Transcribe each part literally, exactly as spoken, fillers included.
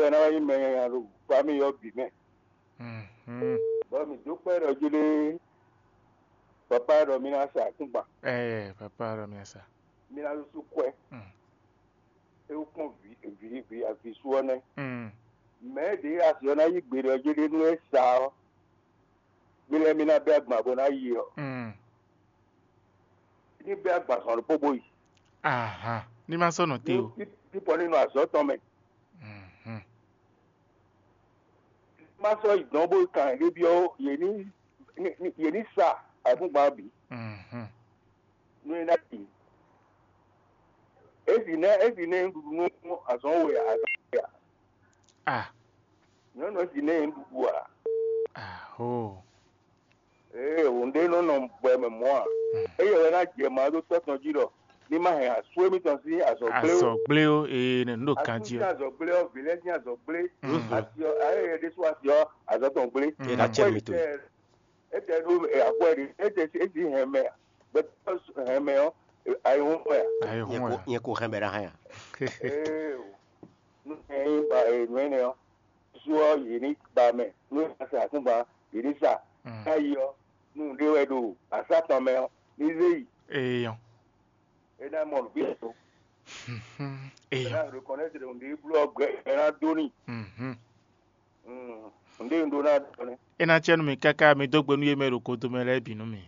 ná wá nyí mɛ nyanya ɖo fami ɔ́ bǐ mɛ. Mhm. Bɔ mǐ dó kpɛ́ ɖɔ jí ɖé, papa ɖɔ mì ná sa akúngban, Ɛɛ, papa ɖɔ mì sa. Mì ná ɖó sú kwɛ. Mm. É wú kpɔ́n vǐ vǐ vǐ avǐ sú ɔ́ nɛ́. Mm. Mɛ̌ ɖě asi ɔ́ ná yí gbe ɖɔ jí ɖé nú é sa ɔ́, mì lɛ́ mì ná bɛ́ agban bó ná yi ɔ́, Mm. ní bɛ́ agban zɔn ɖokpó bó yi. Ahan, ní má sɔ́ nɔ te o. Ní pɔ́ ní nɔ azɔ̌ tɔn mɛ. Mhm. Má sɔ́ yi dɔn bó kan yě byɔ́ yě ní yě ní sa ayǐkúngban bǐ. Mhm. Nú é ná yi. Ezi nɛ ezi nɛ ɖuɖu nú azɔn we a azɔn we a. Ah. Nyɔnu ezi nɛ ɖuɖu a. Aho. Ee, wǔ ɖé nɔ nɔ gbɛ mɛ mɔ̌ a? Eye wɛ ná jɛ ma ɖó tɔ́ tɔn jí ɖɔ ní ma hɛn asú émítɔn sín azɔ̌ gblé ó. Azɔ̌ gblé ó, ee, nɛ nǔ ɖo kan jí ó. Asú sín azɔ̌ gblé ɔ́, vǐ lɛ́ɛ sín azɔ̌ gblé. Asi ɔ́, ayé yɛ ɖésú asi ɔ́, azɔ̌ tɔn gblé. Yɛ ná cɛ mi to. Étɛ ɖó akwɛ ɖi, étɛ ési hɛn mɛ, gbɛtɔ́ hɛn mɛ ɔ́, ayihún wɛ a? Ayihún wɛ. Nyɛ ko hɛn bɛ ná hɛn a? Ee, nú hɛn nyí ba nǔ énɛ́ ɔ́, sú ɔ́, yě ní ba mɛ, nú é sa akúngban, yě ní sa. Ká yi ɔ́, nú nǔɖé wɛ ɖo asá tɔn mɛ ɔ́, ní zé yi. Eyɔn. É ná mɔ nǔgbé tó. É Eyɔn. Ná reconnaître nǔɖé bló ɔ́ gbɛ é ná dó n'i. Mhm. Mm, nǔɖé un ɖó ná ɖɔ nɛ́. É ná cɛ nú mi káká mi dó gbe nú yě mɛ e ɖo godo mɛ lɛ́ɛ bǐ nú mi.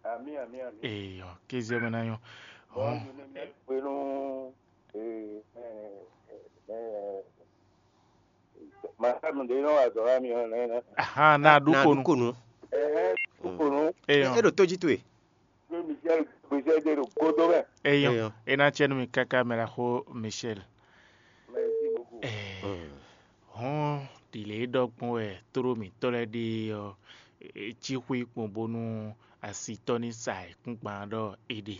Amǐ, amǐ, amǐ. Eyɔn, kéze mɛ ná nyɔ́. Bɔn nú mi mɛ gbe nú ee, ɛ, ɛ, ɛ, Màtá mi ɖě nɔ wa azɔ̌ wá mi ɔ́ nɛ́. Ahan, na ɖu konu. Konu. Ɛhɛn, konu. Eyɔn. E ɖo tó jí towe. Pé Michel gbèsè ɖe ɖo godo mɛ. Eyɔn. Eyɔn. E ná cɛ nú mi káká mɛ la xó Michel. Merci beaucoup. Ɛɛ, hɔn ɖile ɖɔ gbɔn wɛ tló mǐtɔn lɛ́ɛ ɖe ɔ́, e cí xwé kpɔn bónú asitɔ́ ní sa ayǐkúngban ɖɔ é ɖe.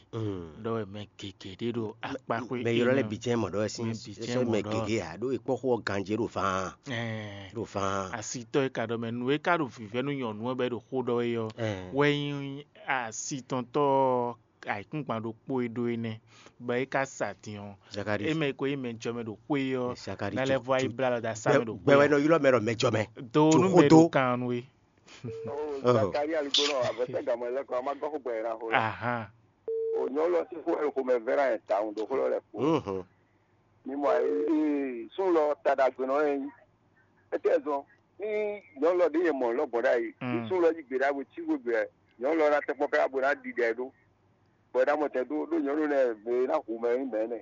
Ɖɔ wɛ mɛ gěgé ɖé ɖo akpá xwé mɛ ylɔ́ lɛ́ɛ bǐ jɛ́n mɔ ɖɔ wɛ sín mɛ bǐ jɛ́n sɔ́ mɔ mɛ ɖɔ. Gěgé ǎ ɖó e kpɔ́ xó ɔ́ ganjí ɖo fán. Ɛɛ, ɖo fán. Asitɔ́ e ka ɖɔ mɛ nú é ka ɖo vǐvɛ́ nú nyɔ̌nu ɔ́ bɔ é ɖo xó ɖɔ é ɔ́, wɛ nyí asitɔntɔ́ ayǐkúngban ɖokpó e ɖó énɛ́, bɔ é ka sa din ɔ́. Zakari. É mɛ ko nyí mɛ jɔmɛ ɖo xwé ɔ́, Zakari ná lɛ́ vɔ ayí blá lɔ dó asá mɛ ɖo xwé. Gbɛ wɛ nɔ ylɔ́ mɛ ɖɔ mɛ jɔmɛ. Do nú mɛ ɖo kan nú é. Zakari aligbónɔ avɔtɛ gamɔ lɛ kɔ a ma gɔ́ xó gbɛ yɛ na xó lɛ. Ahan. O nyɔlɔ si xó ɛ xó mɛ vɛrɛ ɛ ta un do xó lɛ kpo. Mi mɔ ayi sun lɔ ta ɖagbe nɔ ɛ. Etɛ zɔn ni nyɔlɔ de yɛ mɔ lɔ gbɔn ɖa yi. Ni sun lɔ yi gbe ɖa bo ci xó gbɛ nyɔlɔ na tɛ kpɔ ká bo na ɖi ɖɛ ɖo. Bɔ ɛ na mɔ tɛ do do nyɔlɔ nɛ be na hu mɛ mɛ nɛ.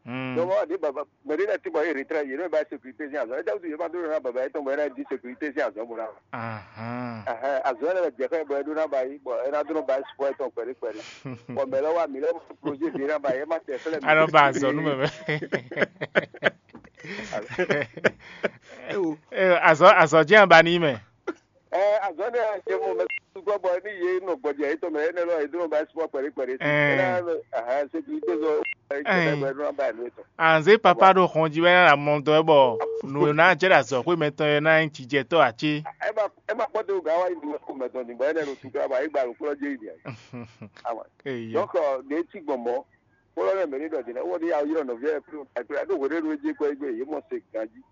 Dɔmɔ ɖe baba mɛ ɖe lɛ ti bɔ ye retrɛ ye ne ba sécurité sin azɔ. Ɛ tɛ wutu ye ma do na baba etɔn bɔ ye na di sécurité sin azɔ bo na. Ahán. Ɛhɛn, azɔ yɛ lɛ jɛ xɛ bɔ e ɖó ná ba yi bɔ e ná dó ná ba yi sukɔ etɔn kpɛɖé kpɛɖé. Bɔ mɛ lɛ wa mi lɛ projet de ná ba yi e ma tɛ fɛlɛ mi. Anɔ ba azɔ nú mɛ mɛ. Ewo. Ee, azɔ azɔ jẹ́ àbá ní mɛ. Ɛ azɔ ne ɛ jɛ mo mɛ sukɔ bɔ ni ye nɔ gbɔdze etɔn mɛ e nɛ lɔ e dó ná ba yi sukɔ kpɛɖé kpɛɖé. Ɛɛ. E ná ɛhɛn sécurité zɔ e jɛ xɛ bɔ e ɖó ná ba yi nú etɔn. Anze papa ɖo xɔn jí wɛ ná mɔ dɔ bɔ nǔ ná jɛ ɖe azɔxwé mɛtɔn e ná nyí jijɛtɔ́ ǎ cé? Ɛ ma ɛ ma kpɔ́ dó gǎn wá yi nǔ ko mɛtɔn ní bɔ énɛ́ ɖo tún ká ba yi gba nǔkplɔ́ jé yi nìyɛ. Awa. Eya. Donc ɖě cí gbɔn mɔ̌ kplɔ́ nɛ mɛ ní ɖɔ dǐnà wɔ ní awu ylɔ́ nɔví ɛ kplé kplé ɖó hweɖéɖu é jé kɔ yi gbé yě mɔ se ganjí.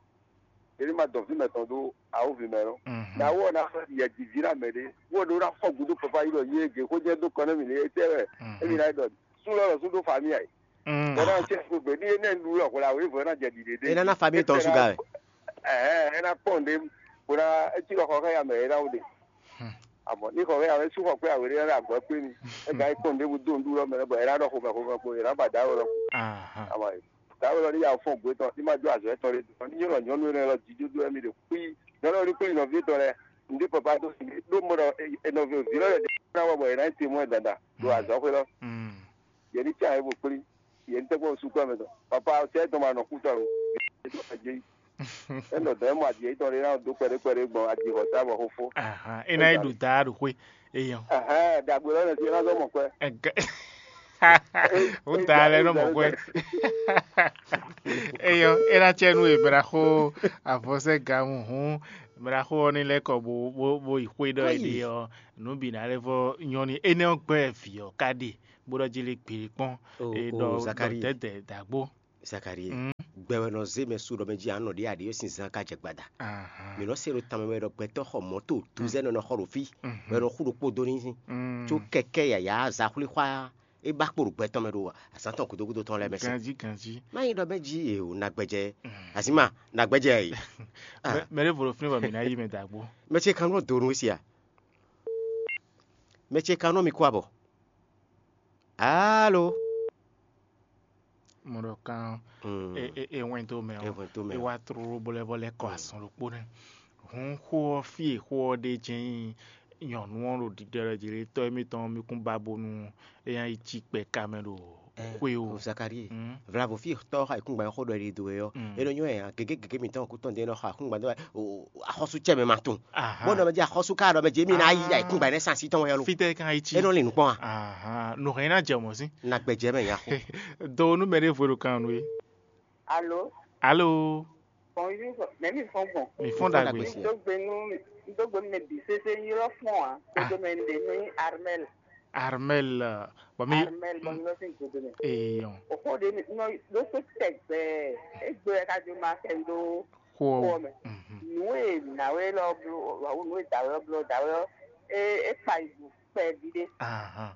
Yě ní ma dɔn fí mɛtɔn ɖó awúvi mɛ lɔ. Ná wɔ ná xlɛ́ yɛ jǐví ná mɛ ɖé wɔ ɖó ná fɔ gǔdo papa yi ɖɔ yé gě xó jɛ dó kɔ nɛ́ mì ní étɛ́ wɛ émi ná yi ɖɔ sú lɔ lɔ sú ɖó famille ayi. Bɔ ná tiɛ kó gbe ní énɛ́ nu lɔ hwlá wé vɔ ná jɛ ɖiɖe ɖé. É ná ná famille tɔn sú gá wɛ. Ɛɛ é ná kpɔn ɖé bó ná étí lɔ xɔ xɛ ya mɛ é ná wó ɖe. Àmọ́ ní xɔ xɛ ya mɛ sú xɔ kpé awé ɖé ná agɔ̌ kpé mi é gǎ yi kpɔn ɖé bó dó nɖú lɔ mɛ bɔ é ná ɖɔ xomɛ xomɛ kpo é ná ba dǎ wé lɔ. Àmọ́ dǎ wé lɔ ní ya fɔn gbé tɔn ní ma jó azɔ̌ tɔn ɖé tɔn ní nyɔ́nɔ nyɔ́nú énɛ́ lɔ jíjójó wɛ mi ɖe kpí nyɔ́nú ní kpí nɔví tɔn lɛ́ɛ ǹdí papa dó ɖó mɔ ɖɔ enɔví òví lɔ lɛ ɖe ná wɔ bɔ è nǎ yi te mɔ ɛ dandan ɖo azɔ̌xwé lɔ. Yě ní tsa yě bó kplí yě ní tɛ́gbɔ́ sukú ɛ mɛ tɔn papa tɛ tɔn ma nɔ kú tɔn o. Enɔ dɔn ɛ mɔ adi yě tɔn ɖé ná dó kpɛɖé kpɛɖé gbɔn adi xɔ sa bɔ xófó. Ahan, é ná yi ɖu da ɖo xwé eyɔn. Ahan, dagbe lɔ nɛ fi ná zɔ mɔ kwɛ. Ɛgɛ. Wota lɛ nɔ mɔ kwɛ. Eyɔn, é ná tsɛ nú e mɛ ná xó avɔsɛ gamu hǔn mɛ ná xó ɔ́ ní lɛ́ kɔ bó bó bó yi xwé ɖɔ é ɖe ɔ́ nǔ bǐ ná lɛ́ vɔ nyɔ́ ní énɛ́ ɔ́ gbɛ́ vǐ ɔ́ ká ɖe bó ɖɔ jí lé gbě kpɔ́n. É ɖɔ Zakari. Dɛ̌dɛ̌ dǎgbó. Zakari. Gbɛ wɛ nɔ zé mɛ su ɖɔ mɛ jí anɔ ɖě aɖě sin zán ka jɛ gbada. Mǐ nɔ se ɖo tanmɛ wɛ ɖɔ gbɛtɔ́ xɔ mɔ̌to duzɛ́ nɔ nɔ xɔ ɖo fí, bɔ è nɔ xú ɖokpó dó n'i, có kɛkɛ́ yǎyá zaxwlíxwá é ba kpo ɖo gbɛ tɔn mɛ ɖo azǎn tɔn gúdo gúdo tɔn lɛ́ɛ mɛ se. Ganjí ganjí. Má nyí ɖɔ mɛ jí e o nagbɛjɛ, azǐma nagbɛjɛ e. Mɛ ɖěvo ɖo fínɛ́ bɔ mǐ ná yí mɛ dǎgbó. Mɛ ce kan nɔ do nú si a? Mɛ ce kan nɔ mi kú abɔ. Alo. Mo ɖɔ kan e wɛn dó mɛ ɔ́, e wá tlóló bɔlɛ́bɔlɛ́ kɔ azɔn ɖokpó nɛ́. Hǔn xó ɔ́, fí e xó ɔ́ ɖe jɛ́n nyí nyɔ̌nu ɔ́ ɖo ɖiɖɔ ɖɔ jǐ lé tɔ́ émítɔn ɔ́, mì kún ba bónú é ná yi cí kpɛ ka mɛ ɖo xwé o. Zakalíe, vlavo fí tɔ́ xɔ ayǐkúngban xó ɖɔ è ɖe dó we ɔ́, é nɔ nyɔ́ ɛ gěgé gěgé mǐtɔn kú tɔn ɖé nɔ xɔ ayǐkúngban dó wɛ axɔ́sú cɛ mɛ ma tunwun. Bó nɔ mɛ jɛ axɔ́sú ká ɖɔ mɛ jɛ mí ná yí ayǐkúngban nɛ́ sín así tɔn wɛ ɔ́ lo. Fítɛ́ ká yi cí? É nɔ lin nǔ kpɔ́n a? Nǔ hɛn ná jɛ mɔ̌ sín. Nagbɛjɛ mɛ nya xo. Do nú mɛ ɖěvo e ɖo kan nú é. Alo. Alo. Bonjour, mɛ mi fɔn gbɔn. Mi fɔn ɖagbe. Dogbe nu, dogbe mɛ bi sese ylɔ fɔn a. Dodo mɛ ɖe mi Armel. Armel, bɔ mi. Armel bɔ mi lɔ sin godo mɛ. Eyɔn. O xo de mi nɔ do so tɛgbɛ. Egbe ka jo ma kɛ do. Xɔ. Xɔ mɛ. Nu e na we lɔ blo, wa nu e da we lɔ blo da we lɔ. E e kpa ibu kpɛ bi de. Ahan.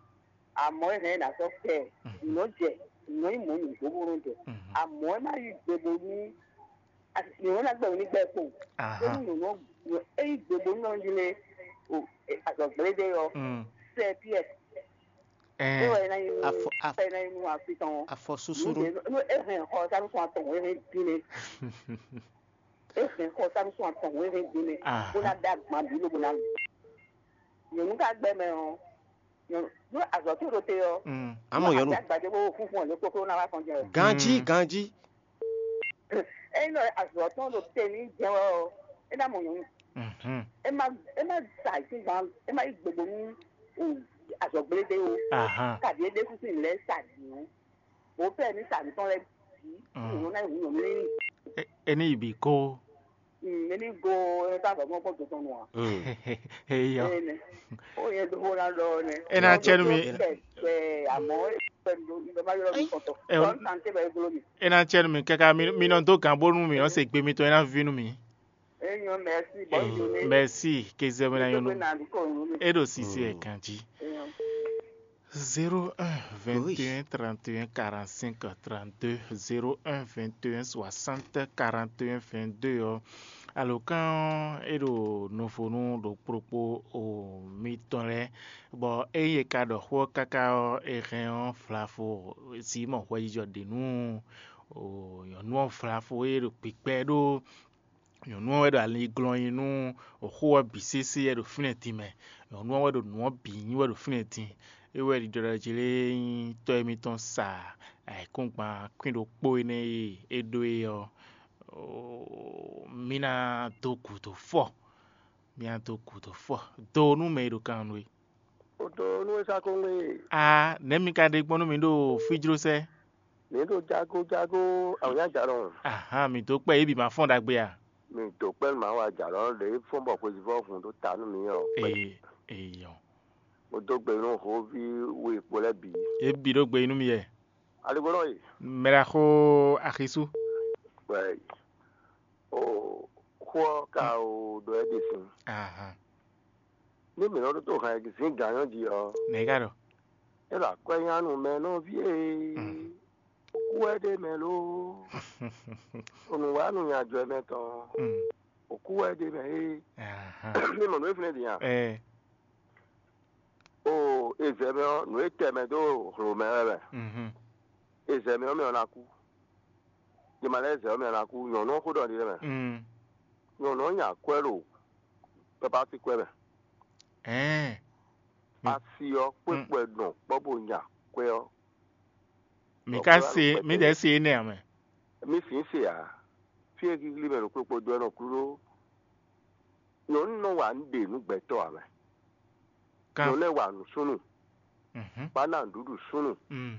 Amɔ̌ é hɛn ná sɔ́ kɛ nǔ nɔ jɛ nǔ nɔ nyí mɔ̌ nǔgbó bó nɔ jɛ. Amɔ̌ é má yí gbe bónú nǔ nɔ ná gbɛ wǔ ní gbɛ kpo. Bónú nǔ nɔ é yí gbe bónú nɔ jí lé o azɔ̌gblédé ɔ́ sɛ Piɛ́. É wɛ é ná nyí nú é ná nyí nú afi tɔn ɔ́. Afɔ súsú nú. É hɛn xɔ sánú sɔn atɔn wǒ é hɛn dín lé. É hɛn xɔ sánú sɔn atɔn wǒ é hɛn dín lé. Bó ná dá gbɔn abǐ lóbó ná. Nyɔ̌nu ka gbɛ mɛ ɔ́, nyɔ̌nu nú azɔ̌ tó ɖo te ɔ́, amɔ nyɔ̌nu agbadé bó fúnfún ɔ́ lé kókó ná wá kɔn jɛ. Ganjí ganjí. Ényí nɔ azɔ̌ tɔn ɖo te ní jɛ wɛ ɔ́, é ná mɔ nyɔ̌nu. É má é má sa ayǐkúngban, é má yí gbogbo nú azɔ̌gblédé ó. Kaɖi é ɖésú sín lɛ́ sa dǐ ɔ́, bó pɛ́ ní sa nǔ tɔn lɛ́ɛ bǐ, nyɔ̌nu ná nyí hǔn nyɔ̌nu ní. É ní yi bǐ kó. Mɛ ní go ɛ tá bɔ mɔ kó dodɔn nua. Eyɔ. Ene. O yɛ do ho na dɔ ne. E na cɛ nu mi. Bɛ amɔ e bɛ do bɛ ma yɔrɔ mi kɔtɔ. Ɛ o. Sɔn tante bɛ golo mi. E na cɛ nu mi kaka mi mi nɔ do gan bonu mi nɔ se gbe mi tɔn e na vi nu mi. E nyɔ merci, bonne journée. Merci, ke zɛ mi na yɔnu. E do sisi e kan ji. Zéro un vingt et un trente et un quarante-cinq trente-deux, zéro un vingt et un soixante quarante et un vingt-deux ɔ́, alǒkan ɔ́, é ɖo nofonu ɖokpó ɖokpó o mitɔn lɛ́ɛ, bɔ ényí è ka ɖɔ xó ɔ́ káká ɔ́, è hɛn ɔ́, Flafo Simɔn hwɛjijɔ ɖe nú o nyɔ̌nu ɔ́, Flafo e ɖo kpikpɛ ɖó nyɔ̌nu ɔ́ wɛ ɖo ali glɔ́n nyi nú xó ɔ́ bǐ sésé wɛ ɖo fínɛ́ din mɛ. Nyɔ̌nu ɔ́ wɛ ɖo nǔ ɔ́ bǐ nyi wɛ ɖo fínɛ́ din. É wɛ ɖiɖɔ ɖɔ jí lé nyí tɔ́ émítɔn sa ayǐkúngban kwín ɖokpó énɛ́ e é ɖó é ɔ́, mǐ ná dó gǔdo fɔ. Mǐ ná dó gǔdo fɔ. Do nú mɛ e ɖo kan nú é. O dó nú é sá kó ŋwé. A nɛ̌ mi ka ɖe gbɔn nú mǐ ɖo fíjlósɛ́? Mǐ ɖo jago jago awǐnyajalɔn. Ahan, mǐ dó kpɛ yě bǐ ma fɔ́n ɖagbe a? Mǐ dó kpɛ nú mǎ wa jalɔn ɖě fɔ́n bɔ xwezivɔ́ hun ɖó ta nú mǐ ɔ́. Ee, eyɔ. Mo dó gbe nú hǒví we kpo lɛ́ɛ bǐ. Yě bǐ ɖó gbe nú mì yɛ. Aligbɔnɔ yi. Mɛ ɖaxó Axisú. Wɛ o xó ɔ́ ka o ɖɔ ɛ ɖe sin. Ahan. Ní mǐ nɔ ɖótó hɛn zǐn gǎn nyɔ́ jí ɔ́, Nɛ̌ ka ɖɔ? É ɖo akwɛ́ nya nú mɛ nɔví e kú wɛ ɖ'é mɛ lo. Nǔwanú nya jɔ mɛ tɔn, Mm. Òkú wɛ ɖ'é mɛ é. Ahan. Ní mɔ nǔ e flɛ́n din a? Ɛ. O ezɛ mɛ ɔ́, nǔ e tɛ mɛ dó hlo mɛ wɛ mɛ. Mhm. Ezɛ mɛ ɔ́ mɛ ɔ́ ná kú. Jɛ ma lɛ́ zɛ ɔ́ mɛ ɔ́ ná kú. Nyɔ̌nu ɔ́ xó ɖɔ ɖi mɛ. Mm. Nyɔ̌nu ɔ́ nya akwɛ́ ɖo papa sín kwɛ́ mɛ. Ɛɛ. Mi- Asi ɔ́ kpé Mm. kpɛ nɔ kpɔ́ bó nya kwɛ́ ɔ́. Mi ka se, mi ɖɛ̌ se énɛ́ ǎ mɛ. Mi sǐn se ǎ. Fí e gíglí mɛ ɖo kplokplo dó ɛ nɔ klúɖó. Nyɔ̌nu nɔ wa nǔ ɖe nú gbɛtɔ́ ǎ mɛ. Kan. Nyɔ̌nu lɛ́ɛ wa nǔsúnnú. Mhm. Bá ná nǔɖuɖu súnnú. Mm.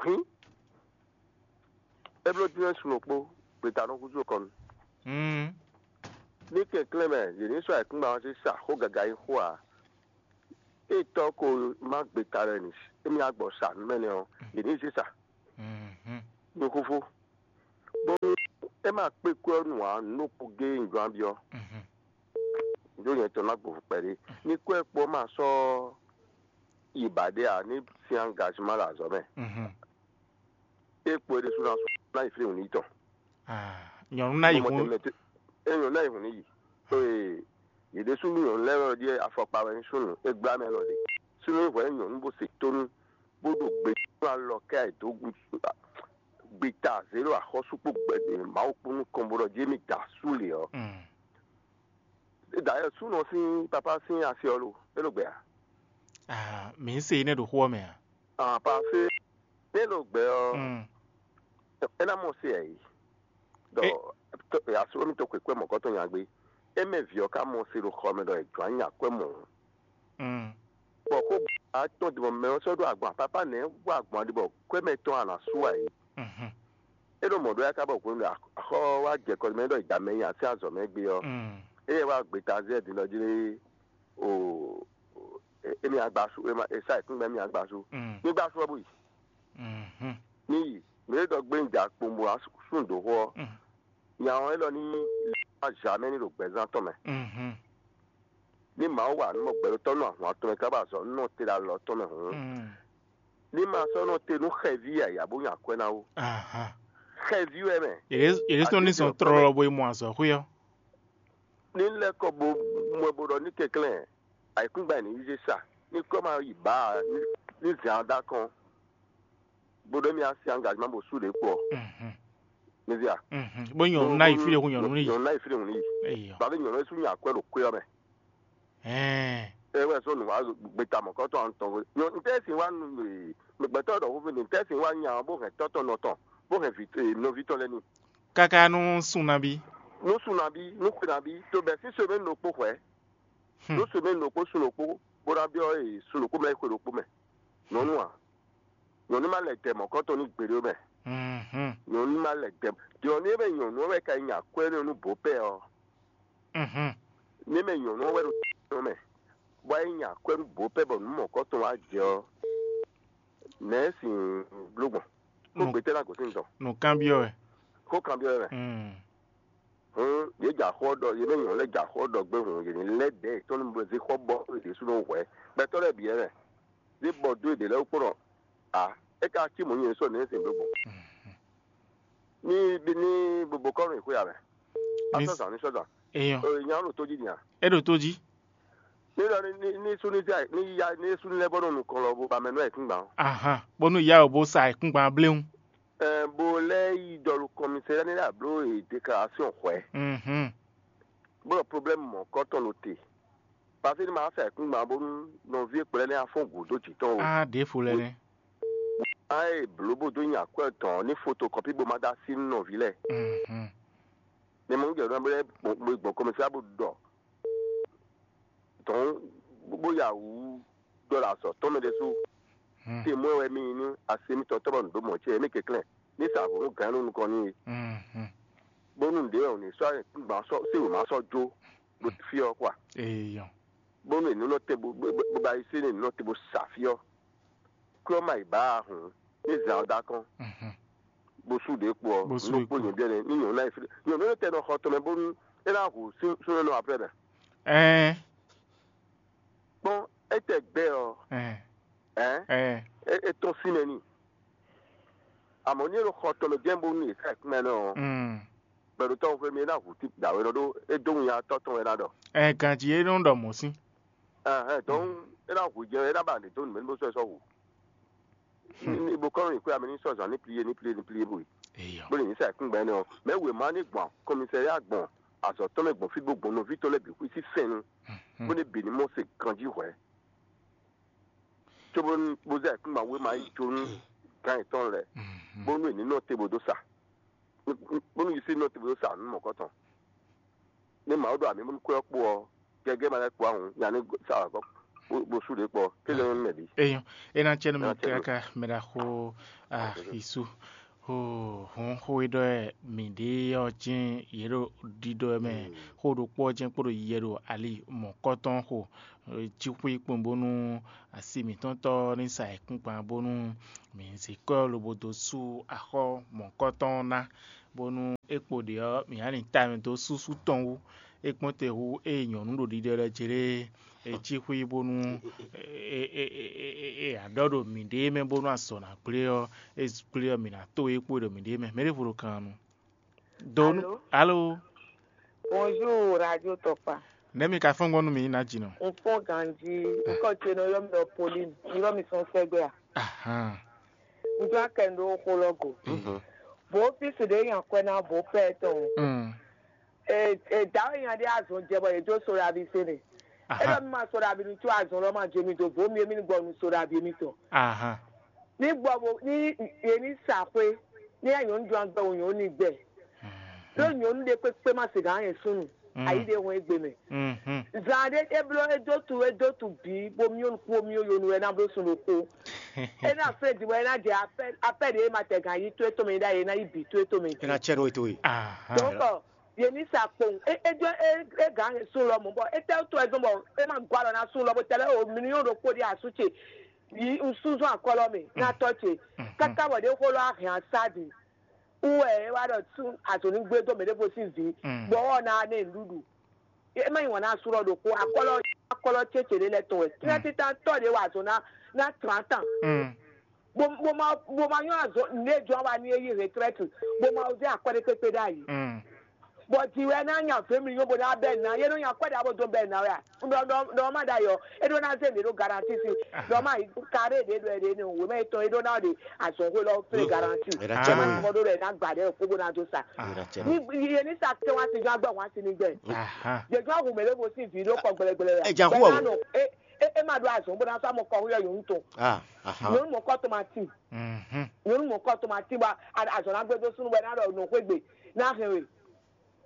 Hín. É bló dínɛ́ sun ɖokpó, gbeta nɔ húzú kɔnu. Mm. Ní kɛnklɛ́n mɛ, yě ní sɔ́ ayǐkúngban ɔ́ zé sa xó gaga e xó ǎ. Ée tɔ́ ko má gbeta lɛ́ɛ nǐ émí á gbɔ sa nǔ mɛ nɛ́ ɔ́, yě ní zé sa. Mhm. Nú xúxú. Bónú é ma kpé kwɛ́ ɔ́ nu ǎ, nǔ ɖokpó géé un jló ná byɔ́. Ɖó nyɛ tɔn ná gbo kpɛɖé. Ní kwɛ́ kpó ma sɔ́ yi ba ɖé ǎ, ní sín angazimá ɖo azɔ̌ mɛ. É kpo é ɖésú ná sɔ́ ná yi flí wǔ n'i tɔn. Nyɔ̌nu ná yi hun. É nyɔ̌nu ná yi hun n'i yi. Ee, yě ɖésú nyɔ̌nu lɛ́ɛ wɛ ɖíe afɔkpa wɛ nyí súnnu, é gbla mɛ lɔ ɖe. Súnnu hwɛ̌ nyɔ̌nu bó se tónú, bó ɖo gbe tɔn alɔ kɛ ayǐ dó gbita zě ɖo axɔ́sú kpó gbɛ Mawu kpó nukɔn bó ɖɔ jí émí da asú lě ɔ́. Dayɛ súnnu ɔ́ sín papá sín asi ɔ́ lo, é ɖo gbɛ a? Ah, mǐ se énɛ́ ɖo xó ɔ́ mɛ a? Ah, parfait. É ɖo gbɛ ɔ́, é ná mɔ se ɛ yi. Ɖɔ asú émí to xwe kwɛ́ mɔ̌kɔtɔn nya gbé. É mɛ vǐ ɔ́ ka mɔ se ɖo xɔ mɛ ɖɔ è jǒ anya kwɛ́ mɔ̌. Bɔ xó atɔn ɖi bɔ mɛ ɔ́ sɔ́ ɖó agban papá nɛ̌ wa agban ɖi bɔ kwɛ́ mɛ tɔn a nǎ sú ǎ é? É ɖo mɔ̌ ɖó yá ká bɔ hwenu ɖo axɔ wá jɛ kɔ mɛ ɖɔ ìdá mɛ nyi así azɔ̌ mɛ gbé ɔ́, éyɛ́ wá gbeta zɛ din ɖɔ jí o émi agbasu, é sa ìkúngbɛ émi agbasu. Ní gbású ɔ́ bó yi. Ní yi, mǐ é ɖɔ gbé un ja kpombo asún dǒ xó ɔ́, nya ɔ́ élɔ́ ní lɛ́ wá zamɛ ní ɖo gbɛzán tɔn mɛ. Ní Mawu wa nǔ mɔ gbɛɖótɔ́ nú ahwan tɔn mɛ kábà zɔ nú nɔ te ɖo alɔ tɔn mɛ hǔn, ní ma sɔ́ nɔ te nú xɛví yǎyá bó nyi akwɛ́ ná ó. Xɛví wɛ mɛ. Yě ɖésú ní zɔn tlɔlɔ bo yi mɔ azɔ̌xwé ɔ́. Ní lɛ́ kɔ bo mɔ bo ɖɔ ní kɛnklɛ́n ayǐkúngban ní yí zé sa, ní kɔ ma yi bǎ ǎ, ní zǎn dá kɔn, bó ɖɔ émí asi angazimá bó sú ɖě kpɔ. Mezia. Bó nyɔ̌nu ná yi fí ɖé hú nyɔ̌nu ní yi. Nyɔ̌nu ná yi fí ɖé hú ní yi. Bàbá nyɔ̌nu sú nya akwɛ́ ɖo kwé ɔ́ mɛ. Ɛ wɛ sɔ́ nǔ wá gbeta mɔ̌kɔtɔn ɔ́ tɔn. Ntɛ́ sin wá nu gbɛtɔ́ ɖɔ xófí ni, ntɛ́ sin wá nya ɔ́ bó hɛn tɔ́tɔ́ nɔ tɔn, bó hɛn nɔví tɔn lɛ́ɛ ní. Káká nú sun nabí. Nú sun nabí, nú xwe nabí, to bɛ̌ sín semɛ́ni ɖokpó hwɛ̌. Nú semɛ́ni ɖokpó sun ɖokpó, bó ná byɔ́ sun ɖokpó mɛ xwe ɖokpó mɛ. Nyɔ̌nu a? Nyɔ̌nu ma lɛ dɛ mɔ̌kɔtɔn ní gbeɖé mɛ. Nyɔ̌nu ma lɛ dɛ. Nyɔ̌nu e mɛ nyɔ̌nu ɔ́ wɛ ka nyi akwɛ́ nú bǒ pɛ ɔ́. Ní mɛ nyɔ̌nu ɔ́ wɛ ɖo tɛ́nɔ mɛ, bɔ é nyi akwɛ́ nú bǒ pɛ bɔ nǔ mɔ̌kɔtɔn wá jɛ ɔ́, nɛ̌ sin bló gbɔn? Xó gbětɛ́ ná gosín tɔn? Nǔkanbyɔ́ wɛ. Xó kanbyɔ́ wɛ mɛ. Hǔn yě jɛ axɔ́ ɖɔ, yě mɛ nyɔ̌nu lɛ́ɛ jɛ axɔ́ ɖɔ gbé hǔn, yě ní lɛ́ dɛ̌ yětɔn ní zé xɔ bɔ yě ɖésúnɔ hwɛ̌. Gbɛtɔ́ lɛ́ɛ bǐ wɛ mɛ. Zé bɔ dó yěɖée lɛ́ɛ wú kpɔ́n ɖɔ ǎ, é ka cí mɔ̌ nyɛ sɔ́ nɛ̌ sin bló gbɔn? Ní ní bobokɔ́nɔ yi xwé ǎ mɛ. A sɔ́ zǎn ní sɔ́ zǎn. Èèyàn. Nya ɖo tó jí din a? É ɖo tó jí. Ní lɔ ní ní súnú zé ní yá ní súnú lɛ́ɛ bɔ nɔ nukɔn lɔ bo ba mɛ nú ayǐkúngban. Ahan, bónú ìyá ò bó sa ayǐkúngban bléwún. Ɛ bo lɛ́ yi dɔlu kɔmisɛ́ ní ɖo abló déclaration hwɛ̌. Mhm. Bó ɖɔ problème mɔ̌kɔtɔn ɖo te. Paseke ní ma sa ayǐkúngban bónú nɔví e kplɛ́ lɛ́ɛ afɔ́n gǔdo jǐ tɔn o. Á ɖěvo lɛ́ɛ nɛ́. Á e blǒ bó dó nyi akwɛ́ tɔn ní fotokɔpi bó ma dó así nú nɔví lɛ́ɛ. Mhm. Ní mɔ jɛ ɖɔ bó gbɔn kɔmɛsá bó ɖɔ dɔn bó ya wǔ ɖɔ ɖo azɔ̌ tɔn mɛ ɖésú. Te mɔ̌ wɛ mì nyí nú asi mitɔn tɔn bɔ nǔ ɖó mɔ̌ ce mì kɛnklɛ́n ní sa vo nú gǎn nú nukɔn n'i. Mhm. Bónú nǔɖé ɔ́ ní sɔ́ gbǎn sɔ́ sí wěma sɔ́ jó bó fí ɔ́ kɔa. Eyɔn. Bónú è nǔ nɔ te bó bó bá yi sí ní nǔ nɔ te bó sa fí ɔ́. Klɔ́ ma yi bǎ a hǔn ní zǎn ɔ́ dó akɔ́n. Mhm. Bó sú ɖě kpo ɔ́, Bó sú nú ɖě kpo kpo. Nyɔ̌nu ɖé ní nyɔ̌nu ná yi fí nyɔ̌nu ɖé tɛ nɔ xɔ tɔn mɛ bónú é ná hu súnnu nɔ aprɛ mɛ. Ɛɛ. Kpɔ́n étɛ gbɛ ɔ́, Ɛɛ. Ɛɛ. Ɛɛ. É tɔ́n sín mɛ n'i. Àmọ́ ní é ɖo xɔ tɔn mɛ jɛ́n bónú è sá ɛkúnmɛ nɔ ɔ́, Mm. Gbɛɖotɔ́ xwé mì é ná hu tí dǎwe nɔ ɖó é dó winnyatɔ́ tɔn wɛ ná ɖɔ. Ɛ ganjí é nɔ ɖɔ mɔ̌ sín. Ɛhɛn, donc é ná hu jɛ é ná ba nǔ dó nǔ mɛ ní bó sɔ́ ɛ sɔ́ hu. Ní bó kɔ́ nɔ nyi xwé amɛ ní sɔ́ zǎn ní plié ní plié ní plié bó yi. Eyɔ. Bó lè ní sa ɛkúngbɛ́ nɛ ɔ́, mɛ wěma ní gbɔn kɔmisɛ́ya gbɔn azɔ̌ tɔn mɛ gbɔn fí bó gbɔn nɔví tɔn lɛ́ɛ bǐ xwí sí fɛnnu, bó ní bǐ ní mɔ se ganjí hwɛ̌. Cóbónú bó zɛ kúngban wéma yi jó nú gǎn yětɔn lɛ́ɛ, bónú è ní nɔ te bó dó sa, bónú yě sí nɔ te bó dó sa nǔ mɔ̌kɔtɔn. Ní Mawu ɖo amǐ bónú kwɛ́ ɔ́ kpo ɔ́, gɛgɛ́ ma lɛ́ kpo ahun, nya ní sa wǎ gɔ́ bó sú ɖě kpɔ, kéze nú mɛ bǐ. Eyɔn, é ná cɛ nú mɛ káká mɛ ɖaxó Axisú. Hɔn xó e ɖɔ wɛ mǐ ɖe ɔ́ jɛ́n yě ɖo ɖiɖɔ wɛ mɛ. Xó ɖokpó ɔ́ jɛ́n kpo ɖo yiyɛ ɖo ali mɔ̌kɔtɔn xo. Jí xwí kpɔ́n bónú asi mǐtɔn tɔ́ ní sa ayǐkúngban bónú mǐ zé kɔ́ lobo dó sú axɔ́ mɔ̌kɔtɔn ná. Bónú é kpo ɖě ɔ́, mǐ ná lin ta mɛ dó súsú tɔn wú. É kpɔ́n te hú ée nyɔ̌nu ɖo ɖiɖɔ lɛ́ɛ jlé é cí xwí bónú é aɖɔ́ ɖo mǐɖée mɛ bónú azɔ̌ ná gblé ɔ́, é gblé ɔ́, mǐ ná to é kpo ɖo mǐɖée mɛ. Mɛ ɖěvo ɖo kan nu. Do nú alo. Bonjour, Radio Tɔkpa. Nɛ̌ mi ka fɔ́n gbɔn nú mǐ ná jinɔ? Un fɔ́n ganjí, un kɔ ce nɔ yɔ mi ɖɔ Pauline, mi ɖɔ mi sɔn sɛgbɛ a? Ahan. Un jɔ akɛ ɖó xó lɔ go. Bó físi ɖě nya kwɛ ná bó pɛ tɔn. Mm. E e dawe nya ɖé azɔn jɛ bɔ yě jó soɖabi se nɛ. E ɖɔ Aha. Mi ma soɖabi nu tso azɔn lɔ ma jɛ mi do bó mi mi gbɔ nu soɖabi mi tɔn. Ahan. Ní gbɔ bo ní yě ní sa xwé ní yá nyɔ̌nu jɔn agbɛ wò nyɔ̌nu ní gbɛ. Ɖó nyɔ̌nu ɖé kpékpé ma se gǎn yɛn súnnu. Ayi ɖé hɔn égbé mɛ. Mhm. Zan ɖé é bló é dó tu é dó tu bǐ bó myɔ nukú bó myɔ yonu wɛ ná bló sun ɖokpó. É ná fɛ́n din bɔ é ná jɛ apɛ́ apɛ́ ɖě é ma tɛ gǎn yí tó é tɔn mɛ é ɖ'ayǐ é ná yí bǐ tó é tɔn mɛ É ná cɛ nú we towe. Aha. Donc yě ní sa kpowun é é jɔ é é gǎn sun lɔ mɔ̌ bɔ é tɛ́ tó ɛ zɔn bɔ é ma gɔ́ alɔ ná sun lɔ bó tɛ́ lɛ́ o mi ní nyɔ́ ɖokpó ɖi asú ce yí un súnzɔ́n akɔ́lɔ mɛ ná tɔ́ ce káká bɔ ɖě xó lɔ á hɛn asá din. Wú wɛ é wá ɖɔ sú azɔ̌ ní gbé dó mɛ ɖěvo sín vǐ, Mm. Bɔ ɔ́ ná ná ɛ nǔɖuɖu. É má nyi wǎn ná sú lɔ ɖokpó, akɔ́lɔ akɔ́lɔ cécé ɖé lɛ́ɛ tɔn wɛ. Tíná títán tɔ́ ɖě wa azɔ̌ ná ná trǎntan. Mm. Bó bó ma bó ma nyɔ́ azɔ̌ nǔɖé jɔ́n wa ní é yí retraite, bó ma zé akwɛ́ ɖé kpékpé ɖ'ayǐ. Mm. Bɔ jǐ wɛ ná nya vě mì nyɔ́ bó ná bɛ́ ná, yé nɔ nya akwɛ́ ɖě abo dó bɛ́ ná wɛ a? Ɖɔ ɖɔ ɖɔ má ɖ'ayǐ ɔ́, é ɖó ná zé mǐ ɖó garanti sí. Ɖɔ má yi karé ɖě ɖɔ ɛ ɖě ní wěma yětɔn é ɖó ná ɖe azɔ̌xwé lɔ flé garanti. Ɛ ná cɛ Má nú ti mɔ ɖó ɖɔ ɛ ná gbǎ ɖɛ kó bó ná dó sa. Ɛ ná cɛ nú Ní yé ní sa kɛ́ wá sí jɔ agbɛ wá sí ní gbɛ. Aha. Jɛjɔ ahun mɛ ɖé bo sí vǐ ɖó kɔ gbɛlɛgbɛlɛ ya. Ɛ jà Bɔ hu ɛ ná ɔ. Nɔ é é é má ɖó azɔ̌ bó ná sá mɔ kɔ húyɔ yòówù tɔn. Ah, aha. Nyɔnu mɔ kɔ tomati. Mhm. Nyɔnu mɔ kɔ tomati bɔ a- azɔ̌ ná gbé dó súnú bɔ ɛ ná ɖɔ nɔ xwé gbe ná hɛn we.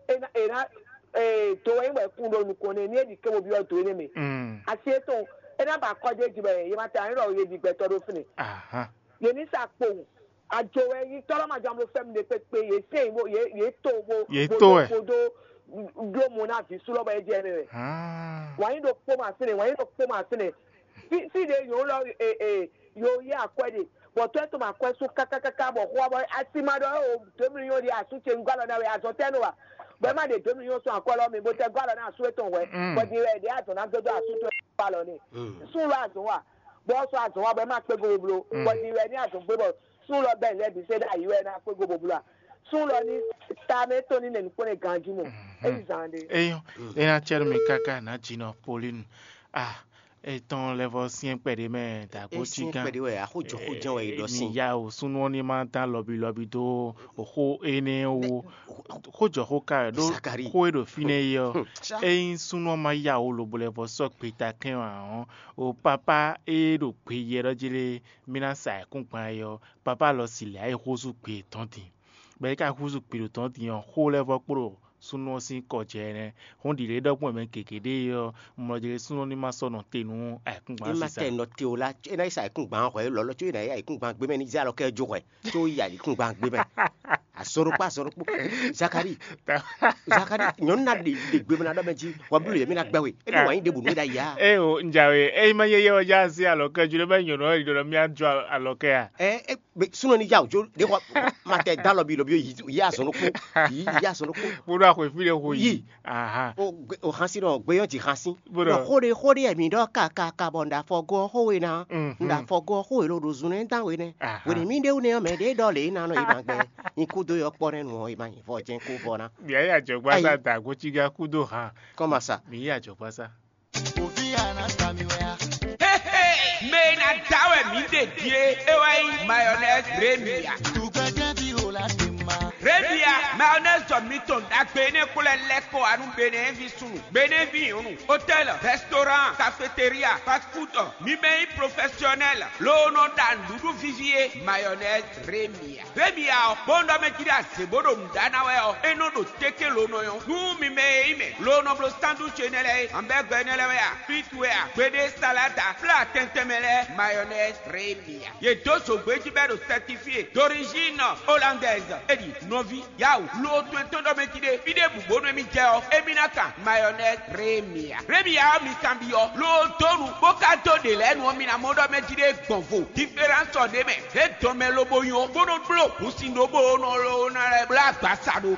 É ná é ná ee do wɛ nyí bɔ è kún ɖo nukɔn nɛ ní é ɖi kébó byɔ́ do énɛ́ mɛ. Mm. Asi étɔn é ná ba akɔjé jí bɔ yě ma ta nyí ɖɔ yě ɖi gbɛtɔ́ ɖó fínɛ́. Aha. Yě ní sa kpowun. Ajo wɛ nyí tɔ́lɔ́ ma jɔ amlo fɛ́mi ɖé kpékpé yě sɛn yě bó yě yě to bó Yě bó to dó wɛ. Bó dó bló mo ná vǐ súlɔ bɔ é jɛ mɛ wɛ. Ah. Wǎn yí ɖo kpó ma sínɛ wǎn yí ɖo kpó ma sínɛ. Fí fí ɖě yǒ lɔ e e yǒ yí akwɛ́ ɖe bɔ tɔ́ tɔn ma kwɛ́ sú kákákáká bɔ xó bɔ asi ma ɖɔ o dǒ mi nyɔ́ ɖi asú ce un gɔ́ alɔ ná wɛ azɔn tɛ́ nɔ wa bɔ é má ɖe dǒ mi nyɔ́ sɔn akwɛ́ lɔ mi bó tɛ gɔ́ alɔ ná asú étɔn hwɛ Mm. Bɔ din wɛ ɖě azɔn ná gbɛdɔ asú tɔn gɔ́ alɔ nɛ. Mm. Sún lɔ azɔn wa bɔ ɔ́ sɔ́ azɔn wa bɔ é má kpé go boblo Mm. Bɔ din wɛ ní azɔn gbé bɔ sún lɔ bɛ́ lɛ́ bǐ sɛ́ ɖo ayi wɛ ná kpé go boblo a sún lɔ ní ta mɛ tɔn ní nɛ nukpɔ́n nɛ ganjí mɔ é yi zan ɖé. Eyɔn, é ná cɛ nú mi káká nǎ jinɔ Polinu. Ah, etɔn lɛ́ vɔ syɛ́n kpɛɖé mɛ dǎgbó cí Esyɛn gán. Kpɛɖé wɛ axójɔxójɛn wɛ yi ɖɔ mi sin. Ya o súnú ɔ́ ní má dán lɔbí lɔbí dó xó énɛ́ wú. Xójɔxó ka wɛ ɖó Zakari. Xó e ɖo fínɛ́ é ɔ́, ényí súnú ɔ́ má ya o lobo lɛ́ vɔ sɔ́ gbeta kɛn ǎ ɔ́, o papá e ɖo gbe yɛ ɖɔ jí lé, mí ná sa ayǐkúngban é ɔ́, papá lɔ si lɛ ayǐ xózú gbe yětɔn din. Bɔ é ka húzú gbe ɖo tɔn din ɔ́, xó lɛ́ vɔ kpló súnnu ɔ́ sín kɔ jɛ ɛnɛ. Hɔn ɖi lě ɖɔkpɔ́n mɛ gěgé ɖé ɔ́, mlɔjɛ́ súnnu ní ma sɔ́ nɔ te nú ayǐkúngban É má sísá. Tɛ nɔ te o la, é ná yi sa ayǐkúngban hwɛ lɔlɔ, có é ná yi ayǐkúngban gbé mɛ ní zé alɔ kɛ jó hwɛ, có yi ayǐkúngban gbé mɛ. Azɔn ɖokpó, azɔn ɖokpó. Zakari, Zakari, nyɔnu na ɖe ɖe gbe mɛ na ɖɔ mɛ jí, wa blu yɛ mi na gbɛ we. É ní wǎn yí ɖe bǔ nú é ɖa ya. Eye o, njawe, eyi ma yeye ɔja asi alɔ kɛ jure bɛ nyɔnu ɔyi ɖɔ mi adzɔ alɔ kɛ a. Ɛ ɛ gbe sunɔ ni ya o jo ɖe xɔ ma tɛ da lɔbi lɔbi yi yi azɔn ɖokpó, yi yi azɔn ɖokpó. Kpoɖo axɔ efi ɖe xo yi. Yi. Aha. O gbe o xasi nɔ gbe yɔ ji xasi. Bro. Nɔ xo ɖe xo ɖe mi ɖɔ ka ka ka bɔ nda fɔ gɔ xo we na. Mhm. Nda fɔ gɔ xo we lo ɖo zun nɛ dan we nɛ. Aha. Wene mi ɖe wu nɛ mɛ ɖe ɖɔ le na nɔ yi ma gbɛ. Nyi kudo yɔ kpɔ nɛ nu ɔ yi ma nyi vɔ jɛn ko vɔ na. Bia ya jɔgba sa da gotiga kudo ha. Kɔma sa. Mi ya jɔgba sa. Mɛ e ná da wɛ mǐ ɖe ɖíe é wá nyí mayonnaise Remia. Remia mayonnaise mitɔn ɖagbe énɛ́ kplɔ́ lɛ́ kɔ wá nú Benɛ́ɛvi súnnu, Benɛ́vi nyɔ̌nu, hôtel, restaurant, cafétéria, fast food, mi mɛ nyí professionnel, loo nɔ ɖa nǔɖuɖu vivi é, mayonnaise Remia. Remia ɔ́, bó nɔ mɛ jí ɖo azě bó ɖo nǔ ɖa ná wɛ ɔ́, é nɔ ɖo téké lo nɔ nyɔ́. Nú mi mɛ e nyí mɛ lo nɔ bló sandwich énɛ́ lɛ́ɛ é, hamburger énɛ́ lɛ́ɛ wɛ a, frit wɛ a, gbeɖé salada, flá tɛntɛn mɛ lɛ́ɛ, mayonnaise Remia. Yě dó zǒgbé jí bɔ é ɖo certifié d'origine hollandaise. É ɖi nɔví, yawu, lo to e tɔn ɖɔ mɛ jí ɖe fí ɖěbǔ bónú émí jɛ ɔ́, émí ná kan mayɔnɛzi rémia. Rémia ɔ́ mi kanbyɔ́ lo dó nu bó ka dó ɖě lɛ́ɛ nu ɔ́, mi ná mɔ ɖɔ mɛ jí ɖe gbɔn vo. Diferánsɔ ɖé mɛ, é dɔn mɛ lobo nyɔ bó nɔ bló hǔn sin ɖó bó nɔ lo ná lɛ́ blá agbaza ɖo